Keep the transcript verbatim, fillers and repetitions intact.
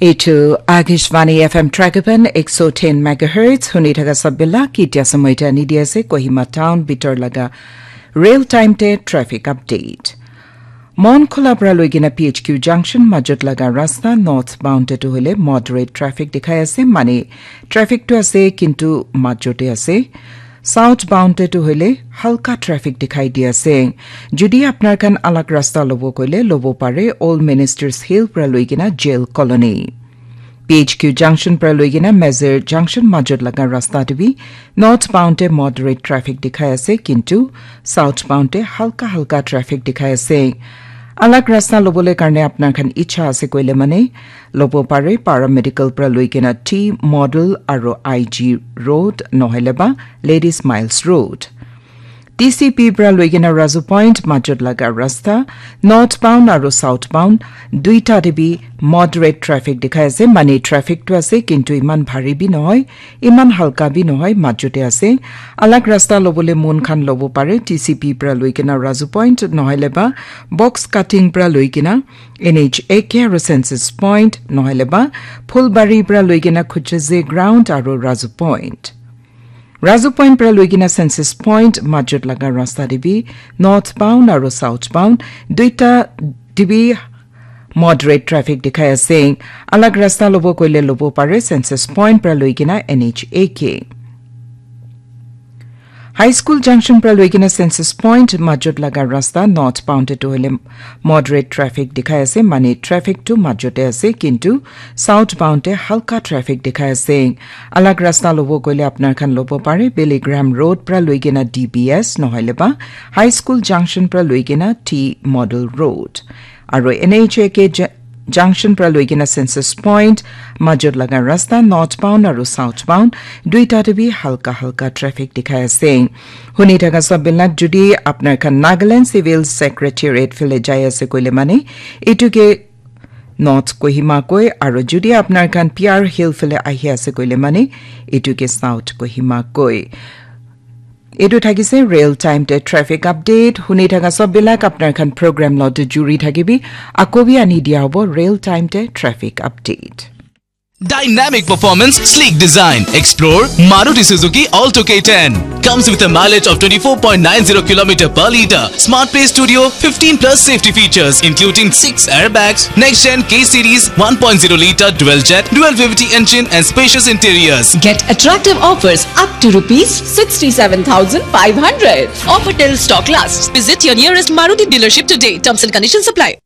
Eitu Akashvani F M Tragapan ek so ten megahertz, huni thaka sabila ki tia samoi ta ni dia se Kohima Town bitor laga real time te traffic update. Mon Khola pra loigina P H Q junction majot laga rasta northbound te tu hoile moderate traffic dikhai ase, mane traffic tu ase kintu majot te ase. Southbound te tu hoile halka traffic dikhai di ase. Jodi apnar khan alag rasta lobo koile lobo pare Old Ministers Hill pra loigina Jail Colony. P H Q junction pra loigina Mezir junction majot laga rasta te bi northbound te moderate traffic dikhai ase, kintu southbound te halka halka traffic dikhai ase. Alag rasta lobole karne apnar khan icha ase koile mane lobo pare Paramedical pra loigina T Model aro I G Road nohoile ba Ladies Miles Road. T C P pra loigina Razu Point majot laga rasta northbound aro southbound duita te bi moderate traffic dikhai ase, mane traffic tu ase kintu iman bhari bi nohoi, iman halka bi nohoi, majot te ase. Alag rasta lobole mon khan lobo pare T C P pra loigina Razu Point nohoile ba box cutting pra loigina N H A K aro Census Point nohoile ba Phulbari pra loigina Khuchaze Ground aro Razu Point. Razu Point pra loigina Census Point majot laga rasta te bi northbound aro southbound duita te bi moderate traffic dikhai ase. Alag rasta lobo koile lobo pare Census Point pra loigina N H A K. High School Junction pra loigina Census Point majot laga rasta northbound te tu hoile moderate traffic dikhai ase, mane traffic tu majot te ase, kintu southbound te halka traffic dikhai ase. Alag rasta lobo koile apnar khan lobo pare Billy Graham Road pra loigina D B S nohoile ba High School Junction pra loigina T Model Road. Aro N H A K Ju-, Junction pra loigina Census Point majot laga rasta northbound aro southbound duita te bi halka halka traffic dikhai ase. Huni thaka sab bilak jodi apnar khan Nagaland Civil Secretariat phale jai ase koile mane etu ke North Kohima koi, aro jodi apnar khan P R Hill phale ahi ase koile mane etu ke South Kohima koi. Etu thakise real time te traffic update. Huni thaka sab bilak apnar khan program lo te juri thakibi. Ako bi ani dia hobo real time te traffic update. Dynamic performance, sleek design. Explore Maruti Suzuki Alto K ten. Comes with a mileage of twenty-four point nine zero kilometer per liter. Smart Pay Studio, fifteen plus safety features, including six airbags, next-gen K series, one point zero liter dual jet, dual V V T engine, and spacious interiors. Get attractive offers up to rupees sixty-seven thousand five hundred. Offer till stock lasts. Visit your nearest Maruti dealership today. Terms and conditions apply.